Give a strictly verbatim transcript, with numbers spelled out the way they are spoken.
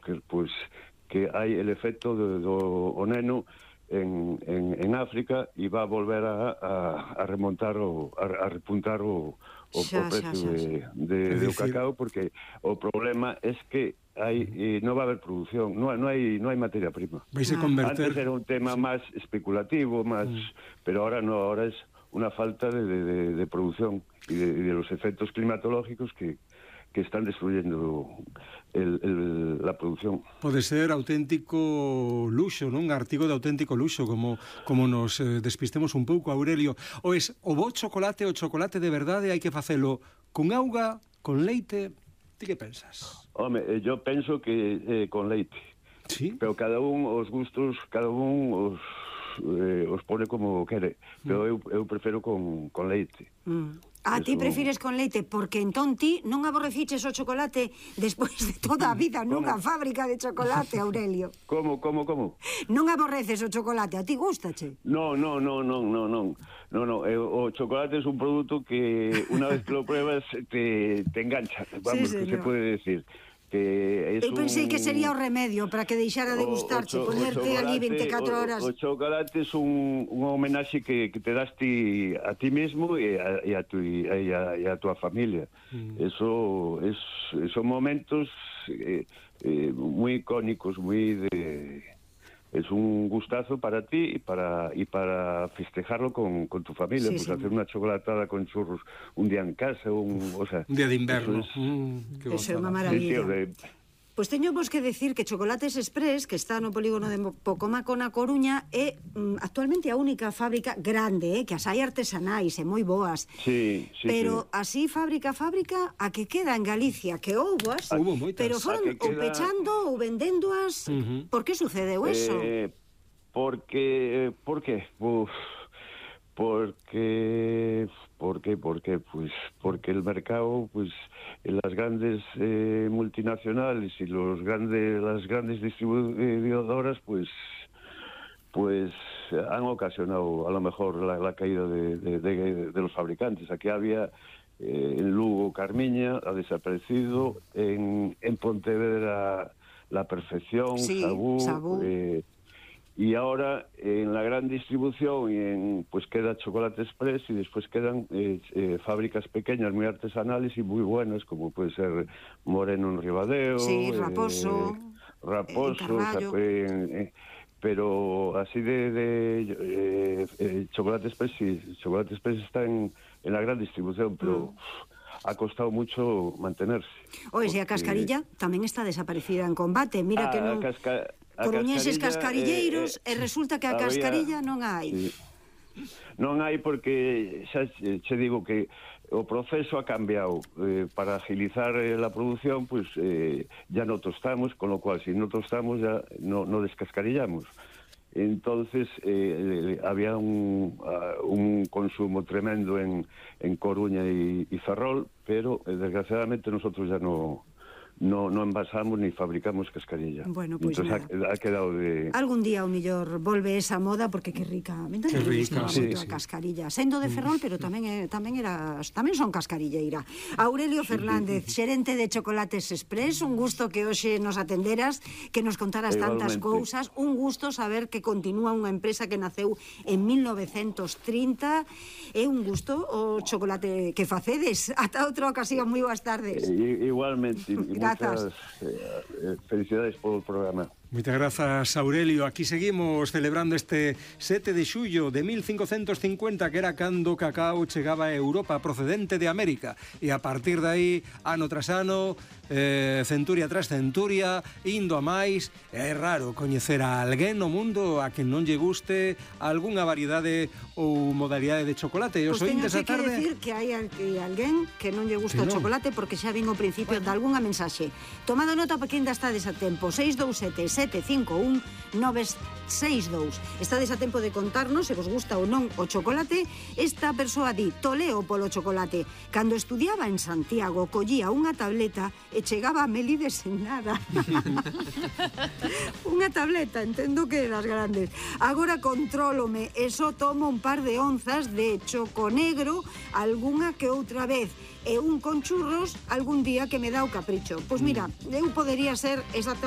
que, pues, que hai el efecto do, do o neno en, en, en África e va a volver a, a, a remontar o, a, a repuntar o, o, xa, o precio xa, xa, xa. de, de, do cacao, porque o problema es que hai, eh, non va a haber producción, non, non hai non hai materia prima. Vais a converter... Antes era un tema sí. máis especulativo, máis, mm. pero ahora no, ahora es unha falta de, de, de producción e de, de los efectos climatológicos que que están destruyendo el, el, la producción. Pode ser auténtico luxo, non? Un artigo de auténtico luxo, como como nos eh, despistemos un pouco, Aurelio. O es o bo chocolate, o chocolate de verdade hai que facelo con auga, con leite. Ti que pensas? Home, yo penso que eh, con leite. Sí? Pero cada un os gustos, cada un os eh, os pone como quere. Pero mm. eu, eu prefiro con, con leite. Mm. A ti prefires con leite, porque entón ti non aborreciches o chocolate despois de toda a vida nunha fábrica de chocolate, Aurelio. Como, como, como? Non aborreces o chocolate, a ti gustache? No, no, no, no, no, no. No, no, o chocolate es un producto que una vez que lo pruebas te, te engancha, vamos, sí, que se puede decir. Que es eu pensei un... que sería o remedio para que deixara de gustarche, o, o ponerte ali veinticuatro horas. O, o chocolate es un, un homenaxe que, que te das ti, a ti mismo e a, e a, tu, e a, e a tua familia. Mm. Eso es, son momentos eh, eh, muy icónicos, muy de... Es un gustazo para ti y para y para festejarlo con, con tu familia, sí, pues sí. Hacer una chocolatada con churros un día en casa, un, o sea, un día de invierno. Eso es, mm, eso é unha maravilla. Sí, tío, de... Pois teño vos que decir que Chocolates Express, que está no polígono de Pocomaco na Coruña, é mm, actualmente a única fábrica grande, eh, que as hai artesanais e moi boas. Sí, sí, pero sí. así fábrica fábrica a que queda en Galicia, que houboas, pero foron ou queda... pechando ou vendéndoas. Uh-huh. Por que sucedeu eso? Eh, porque por qué? Uf, porque ¿por qué? Porque pues porque el mercado, pues las grandes eh, multinacionales y los grandes las grandes distribuidoras pues pues han ocasionado a lo mejor la, la caída de, de, de, de los fabricantes. Aquí había eh, en Lugo Carmiña, ha desaparecido, en, en Pontevedra La Perfección, sí, Sabú, Sabú. Eh, y ahora en la gran distribución y en, pues queda Chocolate Express y después quedan eh, eh, fábricas pequeñas muy artesanales y muy buenas, como puede ser Moreno en Ribadeo, sí, Raposo, eh, Raposo, eh, o sea, eh, pero así de, de eh, eh, Chocolate Express, sí, Chocolate Express está en, en la gran distribución, pero mm. ha costado mucho mantenerse. Oye, porque... a Cascarilla tamén está desaparecida en combate, mira ah, que non... Casca... Coruñeses cascarilleiros eh, eh, e resulta que a había, cascarilla non hai. Sí. Non hai porque xa che digo que o proceso ha cambiado eh, para agilizar eh, la producción, pues eh, ya no tostamos, con lo cual si no tostamos ya no, no descascarillamos. Entonces eh, había un, uh, un consumo tremendo en, en Coruña y, y Ferrol, pero eh, desgraciadamente nosotros ya no No, no envasamos ni fabricamos cascarilla. Bueno, pues entonces ha, ha quedado de... Algún día o mellor volve esa moda porque que rica. Me que rica, sí, sí. A cascarilla. Sendo de Ferrol, pero tamén é, tamén era tamén son cascarilleira. Aurelio Fernández, xerente de Chocolates Express, un gusto que hoxe nos atenderas, que nos contaras tantas cousas, un gusto saber que continúa unha empresa que naceu en mil novecentos trinta. É un gusto o chocolate que facedes. Ata outra ocasión, moi boas tardes. Eh, igualmente. Muchas eh, felicidades por el programa. Moitas grazas, Aurelio. Aquí seguimos celebrando este sete de xullo de mil cincocentos cincuenta, que era cando o cacao chegaba a Europa procedente de América. E a partir de aí, ano tras ano, eh, centuria tras centuria, indo a máis. É raro coñecer a alguén no mundo a quen non lle guste algunha variedade ou modalidade de chocolate. E os pues ointes a tarde... que decir que hai alguén que non lle gusta o chocolate, porque xa vin ao principio de algunha mensaxe. Tomado nota porque ainda estades a tempo. seis dous sete, sete cinco un, nove seis dous. Estades a tempo de contarnos se vos gusta ou non o chocolate. Esta persoa di: toleo polo chocolate. Cando estudiaba en Santiago, collía unha tableta e chegaba a Melides sen nada. Unha tableta, entendo que das grandes. Agora contrólome e só tomo un par de onzas de choco negro algunha que outra vez, e un con churros algún día que me dá o capricho. Pois mira, eu podería ser exactamente